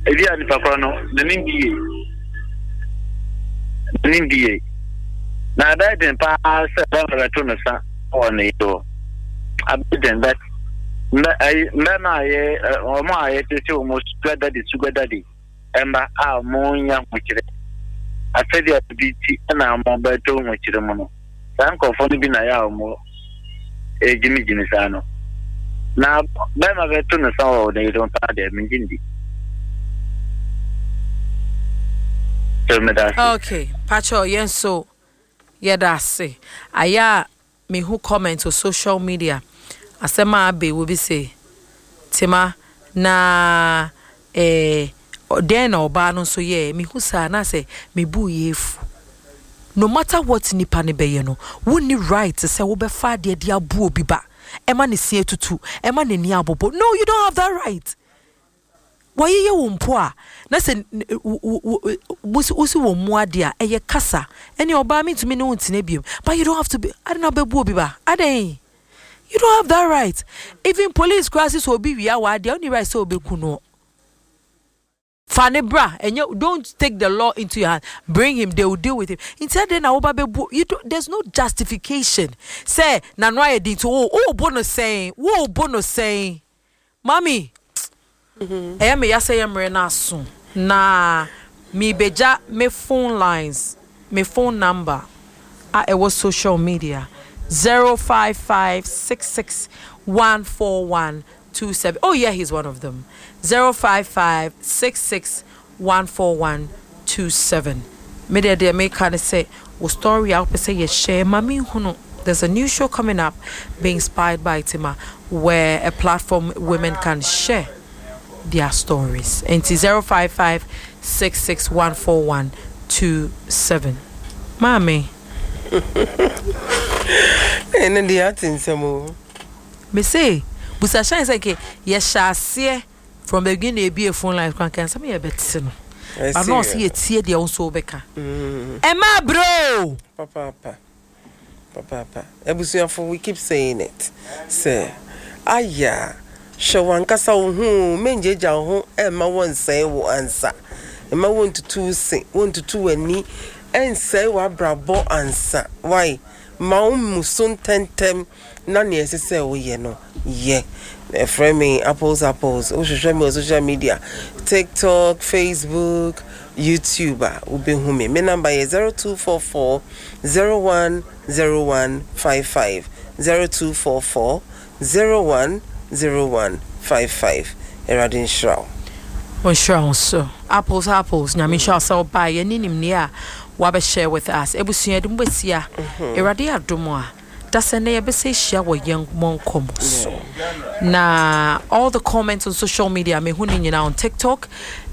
Ebi a nipa korɔ no n'ani ndi yie. N'ani ndi yie. Na ɛbɛyɛ den paa sɛ bɛrima bɛto ne sa wɔ ne yere hɔ. Abɛyɛ den but mbɛ ayi mbɛrima a yɛ wɔn a yɛtete wɔn sugar daddy sugar daddy mma a wɔn nya ahokyerɛ asɛdeɛ bi ti na wɔn bɛtɔ ahokyerɛ mu no. Saa nkurɔfoɔ no bi na yɛ a wɔn gyimigyimi saa no. Na bɛrima bɛto no sa wɔ ne yere ho paa deɛ mengye ndi. So meda ase. Okay, pacho yɛn so yɛda ase. Ayɛ a mehu comment wɔ social media asɛm a abe wɔ bi se tema na Eh, dɛn na ɔbaa no nso yɛɛ? Mehu saa na sɛ me bo yɛ afu. No matter what nipa no bɛyɛ no, wonni right sɛ wobɛfa adeɛ de abu obi ba, ɛma ne se atutu, ɛma n'ani abobɔ. No, you don't have that right. Wɔayeyɛ wo mpo a, na sɛ wosi wɔn mu adeɛ a, ɛyɛ kasa. Ɛne ɔbaa mentumi ne wo ntena biom. But you don't have to be, adɛn na wobɛbu obi ba? Adɛn? You don't have that right. Even police koraa sɛ obi wia w'adeɛ, wonni right sɛ obeku no. Fa ne bra, ɛnyɛ don't take the law into your hand. Bring him, they will deal with him. Nti adɛn na woba bɛbu, you don't, there's no justification. Sɛ n'ano ayɛ den nti wo wo bo no sɛn, wo bo no sɛn. Mami, ɛyɛ me ya sɛ yɛ mmerɛ no aso na mebɛgya me phone lines, me phone number a ɛwɔ social media 0556614127. Oh yeah, he's one of them. 0556614127. Me deɛ deɛ meka ne sɛ wo story a wopɛ sɛ yɛhyɛ ma menhunu. There's a new show coming up, being inspired by Tima, where a platform women can share their stories. Nti 0556614127. Maame. Ɛno deɛ ate nsɛm o. Me se, busa hyɛn sɛ nke yɛhyɛ aseɛ from the beginning ebie phone lines kora nka nsɛm yɛ bɛte no. But na ɔse yɛtie deɛ wo nso wobɛka. Ɛma bro. Papaapa. Papaapa. Abusuafo, we keep saying it sɛ, Aya, hwɛ w'ankasa wo ho o, mengyaagyaa wo ho mma wɔnsɛe wo ansa. Mma wɔntutu wo se, wɔntutu w'ani, ɛnsɛe w'abrabɔ ansa. Wai? Ma wo mmu so ntɛmntɛm na nea ɛsɛ sɛ woyɛ no, yɛ. Frɛ me Apples Apples. Wohwehwɛ me wɔ social media, TikTok, Facebook, YouTube a, wobɛhu me. Me number yɛ 0244 010155. 0244 010155. Awurade nhyira wo. Ɔnhyira wo nso. Apples Apples, Nyame nhyira wo sɛ wobaeɛ ne nimdeɛ a woabɛ share with us. Abusua yɛde mo bɛsia. Awurade adom a, dasɛ nnɛ yɛbɛsɛ ahyia wɔ yɛn mmɔ nkɔmmɔ so. Na all the comments on social media, mehu ne nyinaa on TikTok.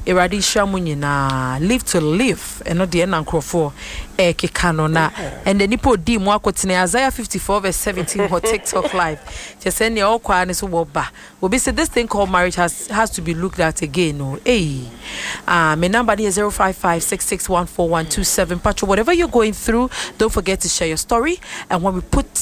Awurade nhyira mo nyinaa. Live to live. Ɛno deɛ na nkurɔfoɔ ɛrekeka no. Na ɛnɛ nipa odi mu akotene Isaiah 54 verse 17 wɔ TikTok live. Kyɛ sɛ nea ɔkɔ ara ne so wɔba. Obi se this thing called marriage has has to be looked at again o ei ah me number no yɛ 0556614127 patro whatever you're going through don't forget to share your story and when we put.